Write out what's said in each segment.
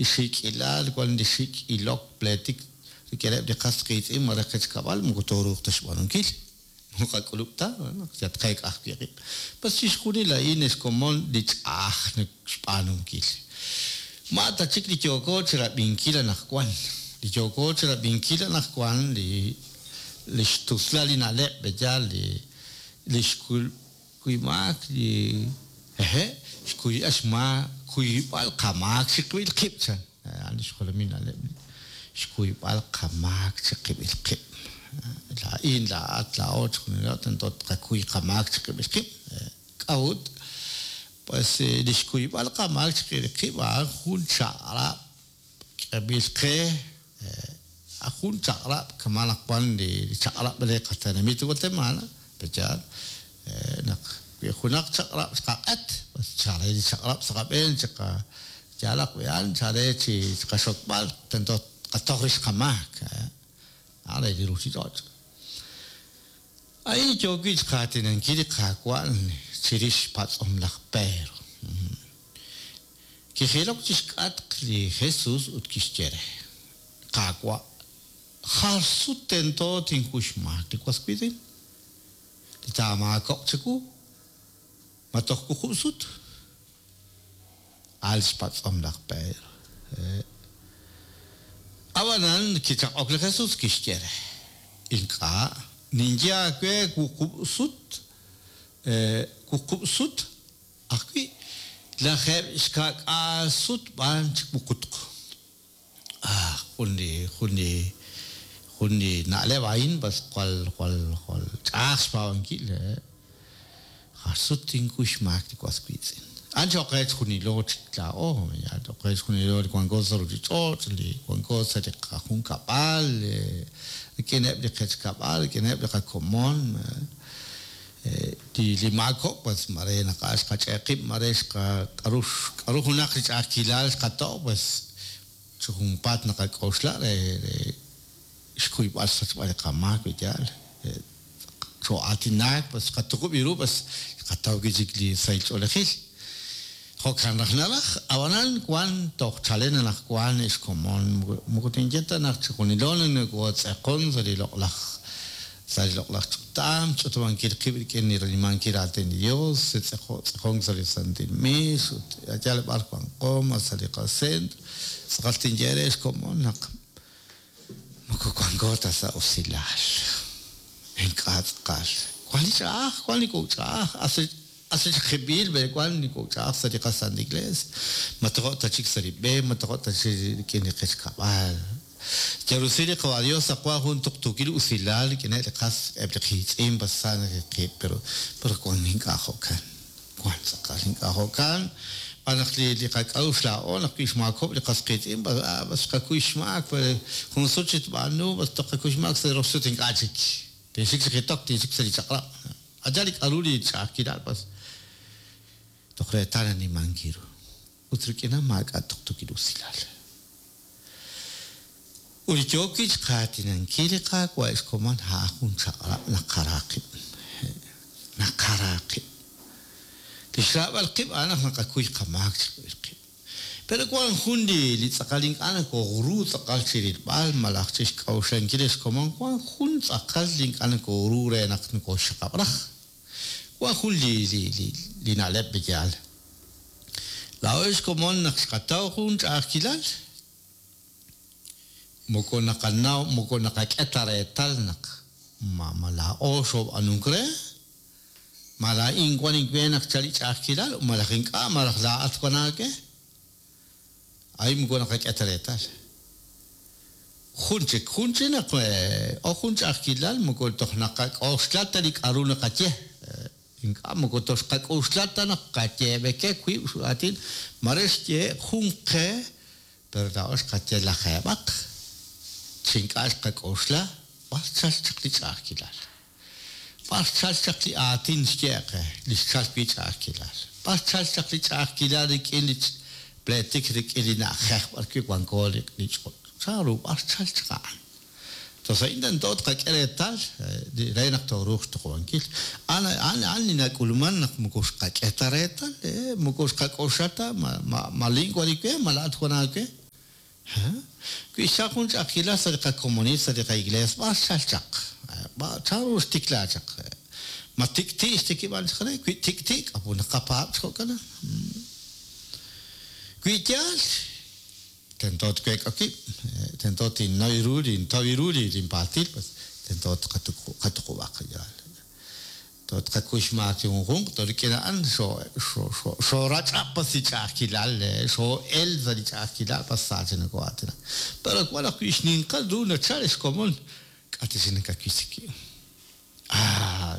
li xiik'ilal, wan li xik' ilok, pleetik rik'ineb' li qas qiitz'in malaj qech kab'al, moko tooruuq ta xb'aanunkil. Moko qak'ulub' ta, naq yal tqeek'a ajwi' qib'. Bas chixjunil a'in ex komon li ch'a'aj xb'aanunkil. Ma ta chik li yooko chirab'inkil anaqwan. Li yooko chirab'inkil anaqwan li li xtuslal li na'leb' b'eyal li li xkuymaak li eje xkuyb'al xmaak kuyb'al qamaak chiqib'il qib' chan. A'an li xjolomil na'leb'. Xkuyb'al qamaak chiqib'il qib'. Laa'in, laa'at, laa'o chixjunilo tento tqakuy qamaak chiqib'il qib'. K'a'ut? Pues li xkuyb'al qamaak chiqib'il qib' a'an jun chaq'rab' k'eb'il qe, jun chaq'rab' kama' naq wan li chaq'rab' re qatenamit Guatemala, pe'yaal naq wi junaq chaq'rab' xqaq'et, pues chare li chaq'rab' sa' qab'een chiqa yaalaq wi a'an chare chi qaxokb'al tento tqatoj rix qamaak, a'an re li ruchich'och'. A'in yook wi' xqaatinankil li Qaawa' chirix xpatz'om laj Pedro. Kijilok chi xk'atq li Jesus ut kixye re, Qaawa', jar sut tento tinkuy xmaak li was wiitz'in li taamaakob'q chiwu? Ma toj wuqub' sut? A'an xpatz'om laj Pedro. Ab'anan kichaq'ok li Jesus, kixye re, Ink'a', ninye aawe wuqub' sut, wuqub' sut ajwi', 70 sut b'an chi wuqutq. Ah, jun li, jun li, jun li na'leb' a'in bas jwal, jwal, jwal ch'a'aj xpaab'ankil. Jar sut tinkuy xmaak li was wiitz'in. A'an cho'q qe chjunilo chik laa'o, yaal cho'q qe chjunilo li wanko sa' ruchich'och', li wanko sa' li qajunkab'al, rik'ineb' li qech kab'al, rik'ineb' li qakomon. Li maakob'k pues mare naq a' xqach'e' qib', mare xqa k'aru k'aru junaq li ch'a'ajkilal xqato', pues chi junpaat naqak'oxla re re xkuyb'al xsachb'al li qamaak wi yaal xoo'aatinak, pues xqatuqub' ru, pues xqataw wi' chik li sahil ch'oolejil. Jo'kan raj naraj, ab'anan wan toj chalen anaqwan ex komon, moko tinye ta naq chijunilo nokootz'eqon sa' li loq'laj sa' li loq'laj ch'utam, xch'utub'ankil qib' rik'in li ranimankil raatin li Dios, tz'eqonk sa' li santil miix ut yal b'ar wanqo ma sa' li qasentro, tz'aqal tinye eere ex komon naq moko wanko ta sa' usilal. Ink'a' tz'aqal. Wan li ch'a'aj, wan li kok' ch'a'aj, Asachjeb'il b'e wan li kok' ch'a'aj sa' li qaSanta Iglesia. Ma tojo' ta chik sa' li b'e, ma tojo' ta chik rik'in li qech kab'al. Yal rusil li Qawa' Dios naq wan jun tuqtuukil usilal rik'ineb' li qas eb' li qiitz'in pas sa neke'qib', pero pero wan ink'a' jo'kan. Wan tz'aqal ink'a' jo'kan, xb'aan naq li li qak'a'uxl laa'o naq wi xmaakob'k li qas qiitz'in pas ah pas xqakuy xmaak, jun sut xitb'aanu pas toj qakuy xmaak sa' rox sut ink'a' chik. Tinxik chi jitok, tinxik sa' li chaq'rab'. Acha' li k'a'ru li ch'a'ajkilal pas toj reetal nanimank ru. Ut rik'in a'an maak'a' tuqtuukil usilal. Ut li yook wi' xqaatinankil li Qaawa' ex komon a'an jun chaq'rab' naqara qib'. Naqara qib'. Li xraab'al qib' a'an naq naqakuy qamaak chiqib'il qib'. Pero wan jun li li tz'aqal ink'a' nakooru tz'aqal chi rilb'al malaj chi xk'a'uxlankil ex komon, wan jun tz'aqal li ink'a' nakooru re naq nakooxxaqab' raj. Wan jun li li li li na'leb' li yaal. Laa'o ex komon naq xqataw jun ch'a'ajkilal, moko naqanaw moko naqak'e ta reetal naq ma ma laa'o xoob'anunk re, Ma laa'in wan inwe naq chal li ch'a'ajkilal malaj ink'a' malaj laa'at wan aawe? A'in moko naqak'e ta reetal. Jun chik, jun chik naq o jun ch'a'ajkilal moko toj naqak'oxla ta li k'a'ru naqaye. Ink'a' moko toj xqak'oxla ta naq qayeeb'eke wiib' aatin, mare xyehe' jun qe pero laa'o xqaye lajeeb'aq chi ink'a' xqak'oxla b'ar xchal chaq li ch'a'ajkilal. B'ar xchalk chaq li aatin xye qe, li xchalk wi' ch'a'ajkilal? B'ar xchalk chaq li ch'a'ajkilal rik'in li pleetik rik'in li na'ajej b'arwi' wanko li ch'och'? Chanru b'ar xchalk chaq a'an? Toj a'in tento tqak'e reetal re naq tooruuq xtuqub'ankil. A'an a'an a'an li nak'ulmank naq moko xqak'e ta reetal, moko xqak'oxla ta ma ma lin wank li we, ma laa'at wank aawe. Wi xchalk jun ch'a'ajkilal sa' li qakomonil, sa' li qaiglees, b'ar xchalk chaq? Chanru xtikla chaq? Ma tik'ti' xtikib'an chaq re? Wi tik'ti', k'aru naqapaab' chi jo'kan? Wi yaal, tento tweek'a wib', tento tinnoy ru, tintaw ru linpaltil, tento tqatuqub'aq yaal. Tqakuy xmaak chi junjunq, to rik'in a'an xoorach'ab' pas li ch'a'ajkilal, xoo'el sa' li ch'a'ajkilal pas sa chi nokoo'aatinak. Pero wan ajwi' xninqal ru nachal xkomon k'a' ta chik nakawisi. Ah,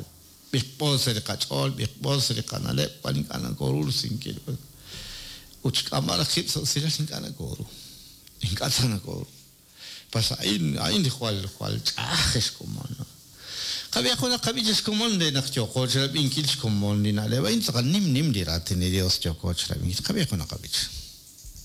b'iqb'o sa' li qach'ool, b'iqb'o sa' li qana'leb', wan ink'a' nakooru risinkil. Ut xk'amb'al qib' sa' usilal ink'a' nakooru. Ink'a' ta nakooru. Pas a'in, a'in li jwal jwal ch'a'aj xkomon. Qab'ihaq junaq qab'ich xkomon re naq yooqo chirab'inkil xkomon li na'leb' a'in tz'aqal nim nim li raatin li Dios yooko chirab'inkil. Qab'ihaq junaq qab'ich.